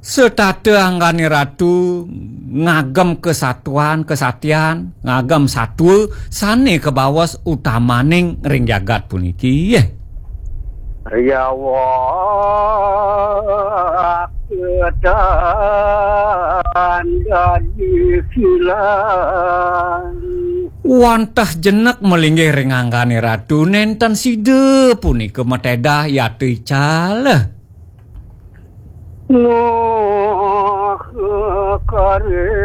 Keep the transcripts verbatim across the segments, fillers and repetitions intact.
Setata anggané Ratu ngagem kesatuan, kesatian, ngagem satua sané kabaos utamaning ring jagat puniki. Yawak ketan dadi kilang. Wantah jenek malinggih ring anggané Ratu, nénten sida punika matedah yata ical. Nuh karehana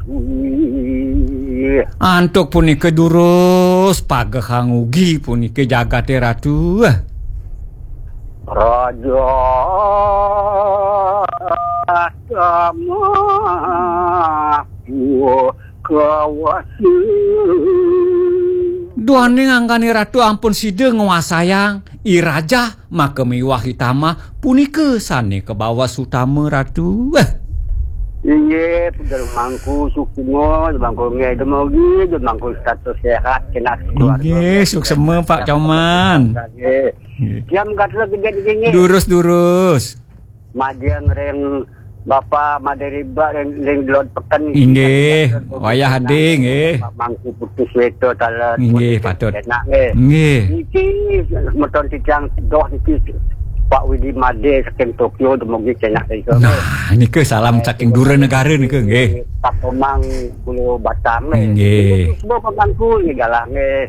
dwi. Antuk punika durus pagehang ugi punika jagaté Ratu. Raja Tama kawasa. Duaning anggané Ratu ampun sida nguasayang I Rajah maka miwah I Tamah punika sané kabaos utama Ratu. Inggih, Ida Mangku Suksma, Ida Mangku nggih, Ida Mogi, Ida Mangku status sehat, kena keluarga. Inggih, suksma, Pak Coman. Nggih. Nggih. Tiang gatra gedé nggih. Durus-durus. Majeng ring Bapa Madé Riba ring, ring Delod Peken. Inggih, wayah adi, nggih. Pak Mangku Putus Weta taler. Inggih, patut. Enak, nggih. Nggih. Niki semeton titiang doh niki Pak Widi Madé saking Tokyo dumugi cenak ring sono. Nah, nika salam saking dura negara nika, nggih. Pak Komang Pulau Batam, nggih. Nggih. Suksma Pak Mangku nggih galah, nggih.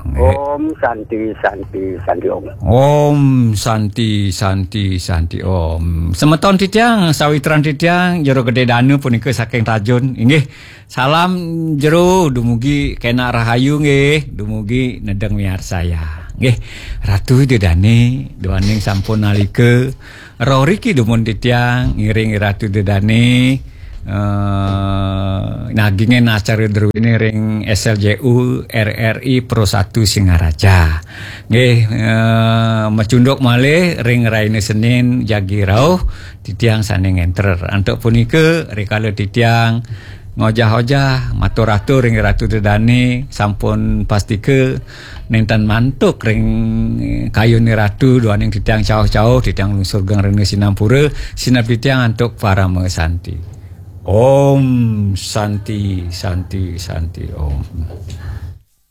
Nggih. Om Santi, Santi, Santi Om. Om Santi, Santi, Santi Om. Semeton titiang, sawitran titiang, Jero Gedé Dana punika saking Tajun. Inggih, salam Jero, dumugi kenak rahayu nggih, dumugi nedeng miarsaya. Nggih, Ratu Ida Dané, duaning sampun nalika rauh riki dumun titiang ngiring Ratu Ida Dané, eh, nagingin acara druéné ring S L J U R R I Pro satu Singaraja. Nggih, eh, macunduk malih ring rahina Senin jagi rauh titiang sané ngénter. Antuk punika rikala titiang ngojah-ojah matur-atur ring Ratu Ida Dané sampun pastika nénten mantuk ring kayuné Ratu duaning titiang cauh-cauh, titiang lungsur geng rena sinampura, sineb titiang antuk parama santi. Om Santi, Santi, Santi Om.